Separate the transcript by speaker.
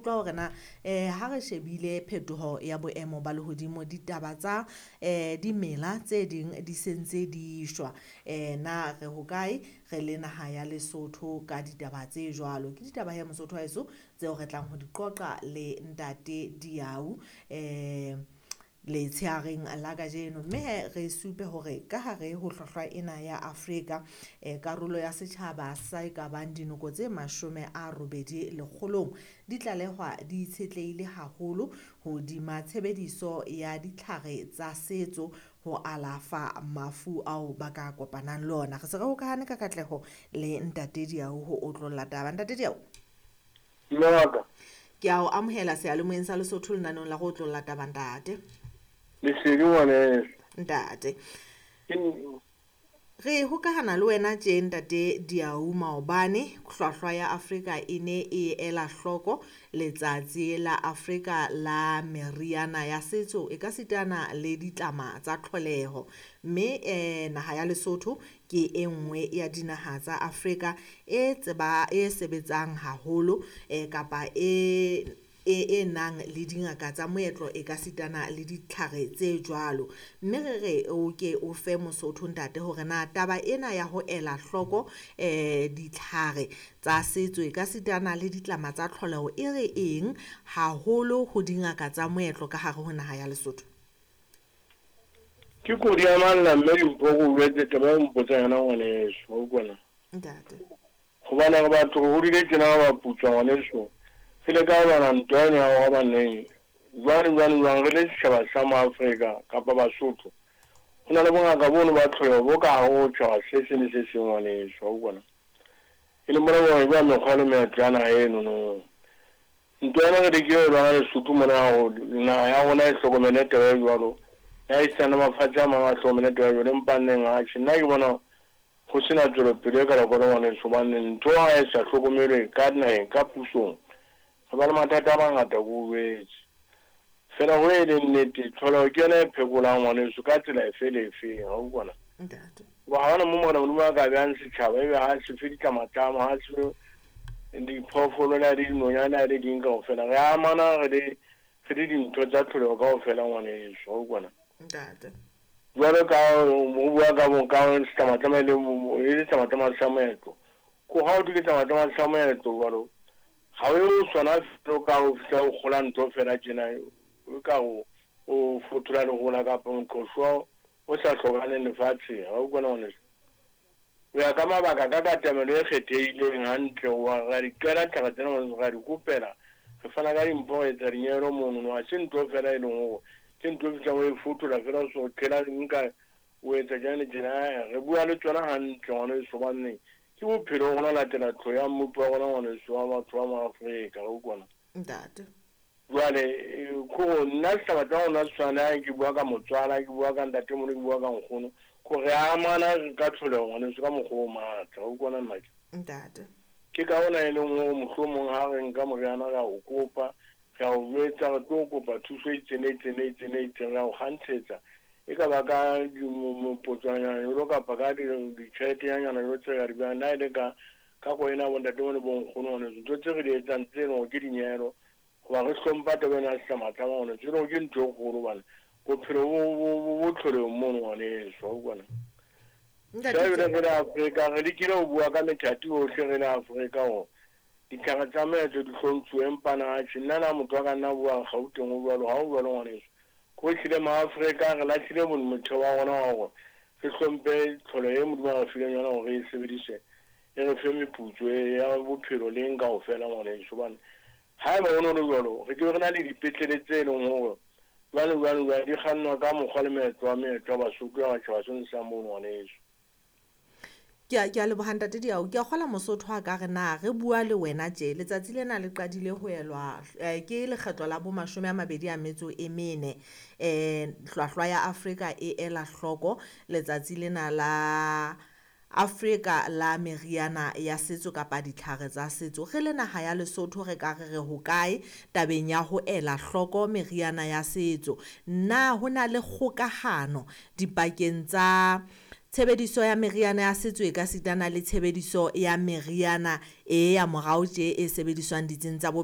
Speaker 1: utlwa hore na ha re shebile phetoho ya boemo ba lehodimo, ditaba tsa dimela tse ding di sentse di shwa. Na re hokae re le naha ya Lesotho ka ditaba tse jwalo? Ke ditaba he Mosotho wa heso tseo re tlang ho di qoqa le Ntate Diau letsheareng la kajeno. Mme he re supe hore ka hare ho hlwahlwa ena ya Afrika, karolo ya setjhaba sa e ka bang dinoko tse 80 lekgolong di tlalehwa di itshetlehile haholo hodima tshebediso ya ditlhare tsa setso ho alafa mafu ao ba ka kopanang le ona. Re se re hokahane ka katleho le Ntate Diau ho otlolla taba. Ntate Diau,
Speaker 2: Mme wa ka.
Speaker 1: Ke a o amohela seyalemoyeng sa Lesotho lenaneong la go otlolla taba, ntate.
Speaker 2: Lesedi ngwaneso.
Speaker 1: Ntate.
Speaker 2: Ke
Speaker 1: Re hokahana le wena tje Ntate Diau maobane hlwahlwa ya Afrika e ne e ela hloko letsatsi la Afrika la meriana ya setso e ka sitana le ditlama tsa tlholeho. Mme naha ya Lesotho ke e nngwe ya dinaha tsa Afrika e tseba e sebetsang haholo kapa e nang le dingaka tsa moetlo e ka sitana le ditlhare tse jwalo. Mme re re o ke o fe Mosotho ntate hore na taba ena ya ho ela hloko ditlhare tsa setso e ka sitana le ditlama tsa tlholeho e re eng haholo ho dingaka tsa moetlo ka hare ho naha ya Lesotho?
Speaker 2: Ke kodi ya malla mme Dimpho ke o jwetse taba eo o mpotsang yona ngwaneso, wa utlwa na?
Speaker 1: Ntate.
Speaker 2: Hobane re batho re hodile tjena re baputswa ngwaneso. Re ile ka lwana ntwa eno ya hore hobaneng jwang jwang jwang re le setjhaba sa Maafrika kapa Basotho. Ho na le bongaka bono ba tlholeho bo ka hare ho tjhaba se seng le se seng ngwaneso, wa utlwa na? E leng bona bo jwa mekgwa le meetlo ya naha eno no. Ntwa ena re lekile ho lwana Lesotho mona hore naha ya rona e hlokomele taba e jwalo. Le ha esitana mafatshe a mang a hlokomele taba e jwalo, empa nneng atjhe nna ke bona ho sena tswelopele e kalokalo ngwaneso, hobane ntho ha e sa hlokomelwe ka naheng ka pusong, re ba le mathata a mangata ke o jwetse. Fela ho e leng nnete, tlholeho ke yona e phekolang ngwaneso ka tsela efe le efe, wa utlwa na?
Speaker 1: Ntate.
Speaker 2: Hoba ha hona mo Morena Modimo a ka behang setjhaba ebe ha se fe ditlamatlama, ha se fe diphoofolo le ha e le dinonyane le ha e le ding kaofela. Re amana re le dintho tsa tlholeho kaofela ngwaneso, wa utlwa na?
Speaker 1: Ntate.
Speaker 2: Jwalo ka ho bua ka bo ka setlamatlama e le e le setlamatlama sa moetlo. Ko ha o thwe ke setlamatlama sa moetlo jwalo, ha o ye ho sona fela o ka o fihla o kgola ntho fela tjena, o ka o o fothola lehola kapa moqhoswa o sa hlokahaleng lefatsheng. Wa utlwa na ngwaneso? Ho ya ka mabaka ka katamelo e kgethehileng hantle, wa ra di qela tlhare tsena ngwaneso, ra di kopela, re fana ka dimpho, re etsa dinyehelo mono. No ha se ntho fela e leng hore ke ntho e fihlang o e fothola fela o so qhela nka o etsa tjena le tjena. Re bua le tsona hantle ngwaneso, hobane ke bophelo rona latela tlho ya mmupi wa rona ngwaneso wa batho ba Maafrika, re utlwa na?
Speaker 1: Ntate.
Speaker 2: Jwale kore nna setjhaba tsa rona se tshwana le ha ke bua ka motswala, ke bua ka ntatemoholo, ke bua ka nkgono, kore re amana ka tlholeho ngwaneso ka mokgwa o matla, wa utlwa na nnake?
Speaker 1: Ntate.
Speaker 2: Ke ka hona e leng hore mohlomong ha re nka moriana re a o kopa, re a o jwetsa, re tlo kopa thuso e itseng le itseng le itseng le itseng, re a o kgantshetsa. E ka ba ka mopotswanyana jwalo kapa ka ditjheletenyana jwalo tse re ka di behang, le ha e le ka ka koena bo ntatemoholo le bo nkgono ngwaneso, ntho tse re di etsang tse leng hore ke dinyehelo, hoba re hlompha taba ena ya setlamatlama ngwaneso, e leng hore ke ntho e kgolo hobane bophelo bo tlholehong mono ngwaneso, wa utlwa na?
Speaker 1: Ntate
Speaker 2: Jwale re le Afrika, re lekile ho bua ka methati yohle re le Afrika hore ditlhare tsa moetlo di hlomphuwe, empa na atjhe nna na motho wa ka nna buang Gauteng o jwalo, ha o jwalo ngwaneso. Ko ehlile Maafrika re lahlile motheo wa rona wa hore re hlomphe tlholo e Modimo a re fileng yona hore re e sebedise, e re fe meputso ya bophelo le eng kaofela ngwaneso. Hobane haeba ho no le jwalo, re ke be re na le dipetlele tse leng hore jwale jwale jwale di kgannwa ka mokgwa le meetlo wa meetlo ya Basotho ya matjhaba seno sa mono ngwaneso.
Speaker 1: Ke a leboha Ntate Diau. Ke a kgola Mosotho a ka re na re bua le wena tje. Letsatsi lena le qadile ho elwa ke lekgetlo la bo 24. Hlwahlwa ya Afrika e ela hloko letsatsi lena la Afrika la meriana ya setso kapa ditlhare tsa setso. Re le naha ya Lesotho re ka re re hokae tabeng ya ho ela hloko meriana ya setso? Na ho na le kgokahano dipakeng tsa tshebediso ya meriana ya setso e ka sitana le tshebediso ya meriana e ya morao tje e sebediswang ditsing tsa